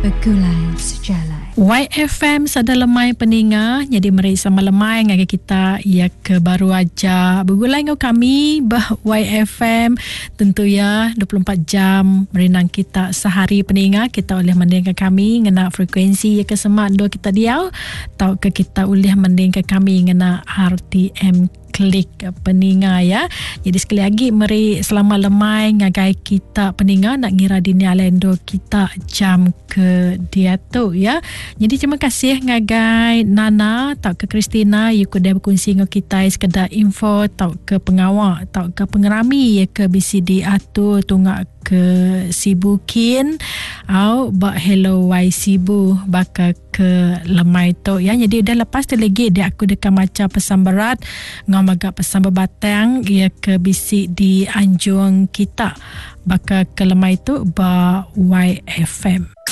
Begulai Sejalai. YFM sada lemai peninga nyadi meri sama lemai ngagai kita iya ke baru aja begulai enggau kami bah YFM tentu iya 24 jam merindang kita sehari peninga kita ulih mendingka kami ngena frekuensi iya ke semak endur kita diau tauka kita ulih mendingka kami ngena RTM klik peninga ya. Jadi sekali lagi meri selamat lemai ngagai kita peninga nak ngira dini alai endur kita jam ke diatu ya. Jadi terima kasih ngagai Nana tauka Christina you udah berkongsi enggau kita sekeda info tauka pengawa tauka pengerami ya ke bisi diatur tunga ke Sibu kin au ba Hello Y Sibu baka ke lemai tu ya. Jadi udah lepas tu lagi dia aku deka macha pesan berat ngau mega pesan bebatang ia ke bisi di anjung kita baka ke lemai tu ba YFM.